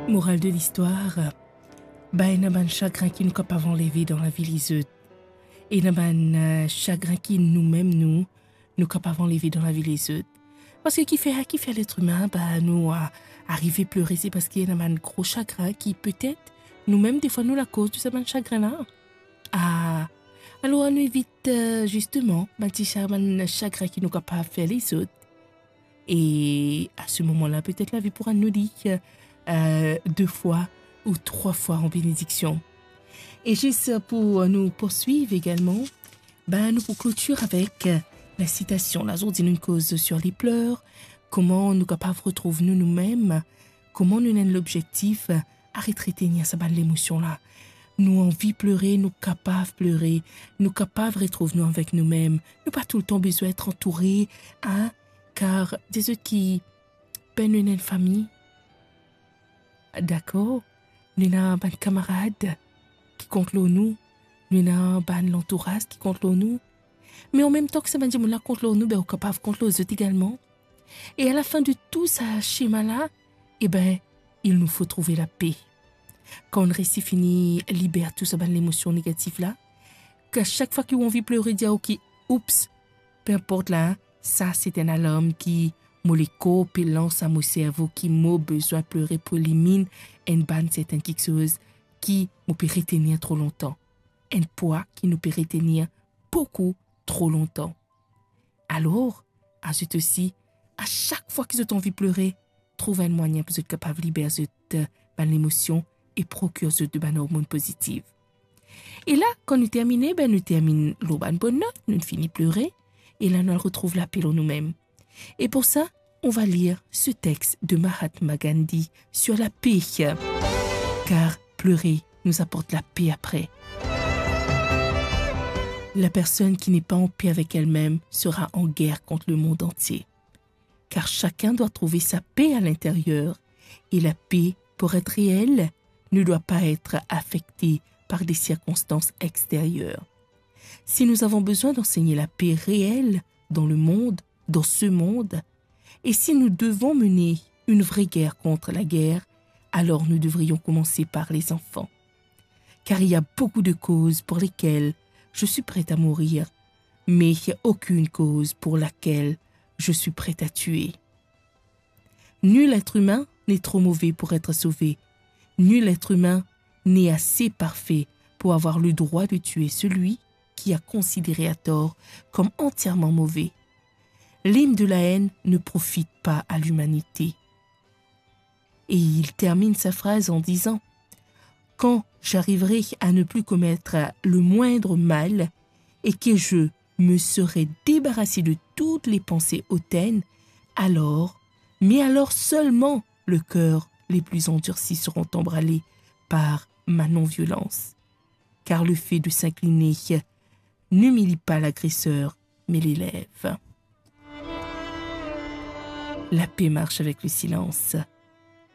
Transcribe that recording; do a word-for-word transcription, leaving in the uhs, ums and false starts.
Moral de listwar, ba ena bann sagrin ki nou kapav anleve dan lavi lezot. Ena bann, eh, sagrin ki noumem nou, nou kapav anleve dan lavi lezot. Parski kifer, kifer letremin, ba, nou, ah, arive plere, se parski ena bann gro sagrin ki petet noumem defwa nou lakoz de sa bann sagrin la. Ah, alor, nou evit, eh, zisteman, bann ti sa-, bann sagrin ki nou kapav fer lezot. E a se moman la, petet lavi pou rann nou li, eh, de fwa ou trwa fwa an benediksion. E zis pou nou pourswiv egalman, ben, nou pou klotir avek, eh, la sitasion. Lazordi nou koz sur les pleurs, kouma nou kapav retrouv nou, noumem, kouma nou ena enn lobzektif, eh, aret retenir sa bann lemosion la. Nou anvi plere, nou kapav plere, nou kapav retrouv nou avek noumem. Nou pa toultan bizin et antoure, hein, kar dezot ki, ben, nou ena enn fami, dakor, nou ena bann kamarad ki kont lor nou, nou ena bann lantouraz ki kont lor nou. Me anmemtan ki sa bann dimoun la kont lor nou, ben, ou kapav kont lor zot egalman. E alafin de tou sa sema la, e ben, il nous faut trouver la paix. Kan nou resi fini liber tou sa bann lemosion negatif la, ki sak fwa ki ou anvi plere, dir, ok, oups, pe inport la, sa se enn alarm ki mo lekor pe lans a mo servo ki mo bizin plere pou eliminn enn bann sertenn kiksoz ki mo pe retenir tro lontan. Enn pwa ki nou pe retenir boukou tro lontan. Alor, a zot osi, a sak fwa ki zot anvi plere, trouv enn mwayin pou zot kapav liber zot, eh, bann lemosion e prokir zot de bann ormonn pozitiv. E la, kan nou termine, ben, nou terminn lor bann bonn not, nou fini plere, e la nou al retrouv lape lor noumem. Et pour ça, on va lire ce texte de Mahatma Gandhi sur la paix. Car pleurer nous apporte la paix après. La personne qui n'est pas en paix avec elle-même sera en guerre contre le monde entier. Car chacun doit trouver sa paix à l'intérieur. Et la paix, pour être réelle, ne doit pas être affectée par des circonstances extérieures. Si nous avons besoin d'enseigner la paix réelle dans le monde, dans ce monde, et si nous devons mener une vraie guerre contre la guerre, alors nous devrions commencer par les enfants. Car il y a beaucoup de causes pour lesquelles je suis prête à mourir, mais il n'y a aucune cause pour laquelle je suis prête à tuer. Nul être humain n'est trop mauvais pour être sauvé. Nul être humain n'est assez parfait pour avoir le droit de tuer celui qui a considéré à tort comme entièrement mauvais. L'hymne de la haine ne profite pas à l'humanité. Et il termine sa phrase en disant : « Quand j'arriverai à ne plus commettre le moindre mal et que je me serai débarrassé de toutes les pensées hautaines, alors, mais alors seulement, le cœur, les plus endurcis seront emballés par ma non-violence. Car le fait de s'incliner n'humilie pas l'agresseur, mais l'élève. » La paix marche avec le silence.